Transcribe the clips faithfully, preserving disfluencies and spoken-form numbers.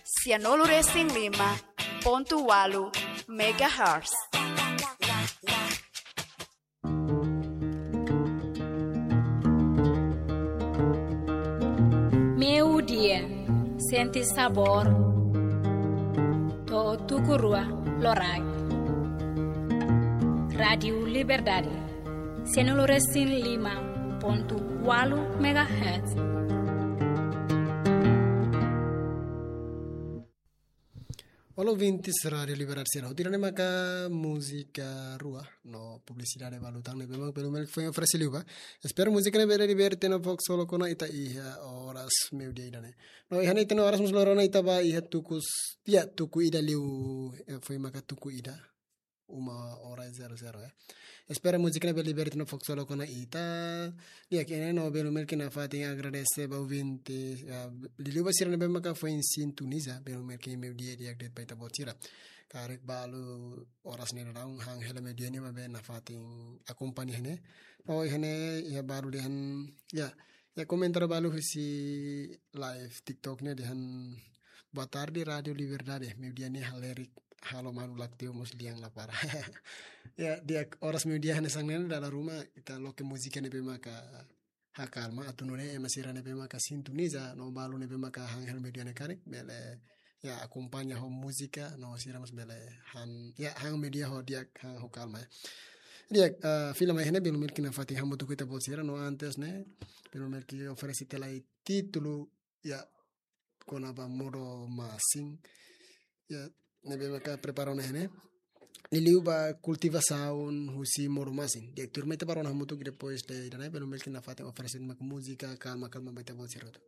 Sianulu resin lima pontu walu megahertz. Meiudia, sente sabór. To'o tuku rua loraik. Rádiu Liberdade, sianulu resin lima pontu walu megahertz. Olá, ouvintes Rádiu Liberdade sira. Hotu ida-ne'e maka múzika rua no publisidade balu tan ne'ebé mak Belu Melki foin oferese liu ba. Espera múzika ne'e bele liberte no fok solo kona ita iha oras meiudia ida-ne'e. No iha ne'e ita no oras mós loron ita ba iha tuku s-, ya, tuku ida liu, eh, foin maka tuku ida. Uma hora zero zero, ya. Espera múzika ne'e bele liberte no fok solo kona ita. Di'ak, iha ne'e no Belu Melki nafatin agradese ba ouvinte, ya, liuliu ba sira ne'ebé maka foin sintoniza Belu Melki meiudia di'ak de'it ba ita-boot sira. Karik balu oras ne'e daudaun han hela meiudia ne'e maibé nafatin akompaña iha ne'e. No iha ne'e iha balu dehan, ya, iha komentáriu balu husi live TikTok ne'e dehan: "Boa tarde, Rádiu Liberdade. Meiudia ne'e halerik, halo malu laktiu mós lian la para." Ya, di'ak, oras meiudia hanesan ne'e dala ruma ita loke múzika ne'ebé maka hakalma, atu nune'e ema sira ne'ebé maka sintoniza no balu ne'ebé maka han hela meiudia ne'e karik bele, ya, akompaña ho múzika no sira mós bele han, ya, han meiudia ho di'ak, han ho kalma, ya. Di'ak, eh, fila mai iha ne'e Belu Melki nafatin hamutuk ho ita-boot sira no antes ne'e Belu Melki oferese tiha lai títulu, ya, kona-ba modo-masin. Ya, ne'ebé maka prepara ona iha ne'e. Liuliu ba kultivasaun husi modo-masin. Di'ak, tuirmai ita bá rona hamutuk, depois de ida-ne'e Belu Melki nafatin oferese maka múzika kalma-kalma ba ita-boot sira hotu.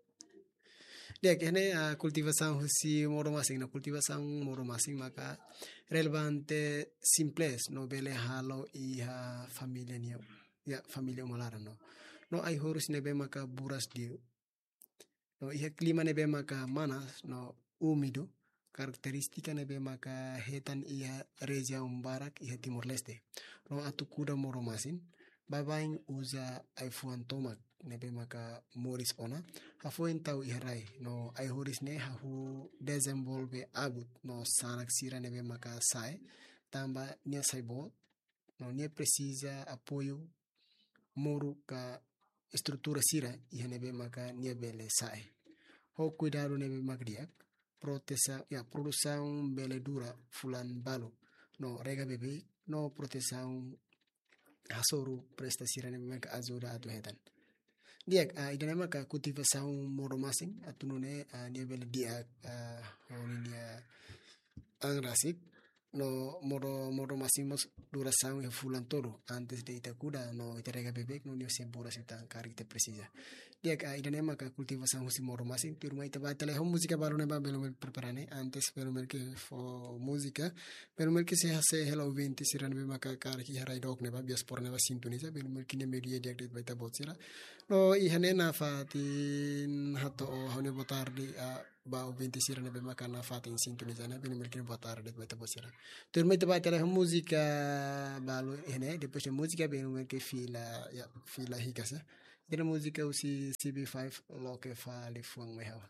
Di'ak, iha ne'e, ah, kultivasaun husi modo-masin. No kultivasaun modo-masin maka relevante, simples, no bele halo iha família nian. Ya, família uma laran no. No ai-horus ne'ebé maka buras liu. No iha klima ne'ebé maka manas no úmidu, karakterístika ne'ebé maka hetan iha rejiaun barak iha Timor-Leste. No atu kuda modo-masin, baibain uza ai-fuan tomak ne'ebé maka moris ona, hafoin tau iha rai. No ai-horus ne'e hahú dezenvolve abut no sanak sira ne'ebé maka sa'e, tanba nia sai boot, no nia presiza apoiu moru ka estrutura sira iha ne'ebé maka nia bele sa'e. Ho kuidadu ne'ebé maka di'ak, protesa-, ya, produsaun bele dura fulan balu. No rega beibeik, no protesaun hasoru presta sira ne'ebé maka ajuda atu hetan. Di'ak, ah, ida-ne'e maka kultivasaun modo-masin, atu nune'e, ah, nia bele di'ak, ah, ho ninia an rasik, no modo, modo-masin mós durasaun iha fulan tolu, antes de ita kuda, no ita rega beibeik, no nia sei buras ita karik ita presiza. Di'ak, ah, ida-ne'e maka kultivasaun husi modo-masin, tuirmai ita bá tiha lai ho múzika balu ne'ebé Belu Melki prepara ne'e, antes Belu Melki fó múzika, Belu Melki sei hase'e hela ouvinte sira ne'ebé maka karik iha rai dook ne'ebá, diáspora ne'ebá sintoniza, Belu Melki nia meiudia di'ak de'it ba ita-boot sira. No iha ne'e nafatin hato'o ha'u-nia boa tarde, ah, ba ouvinte sira ne'ebé maka nafatin sintoniza ne'e, Belu Melki nia boa tarde ba ita-boot sira. Tuirmai ita bá tiha lai ho múzika balu iha ne'e, depois de múzika Belu Melki fila, ya, fila hikas, ya. Ita-nia múzika husi C B five, Loke Fali Fuan Mai Ha'u.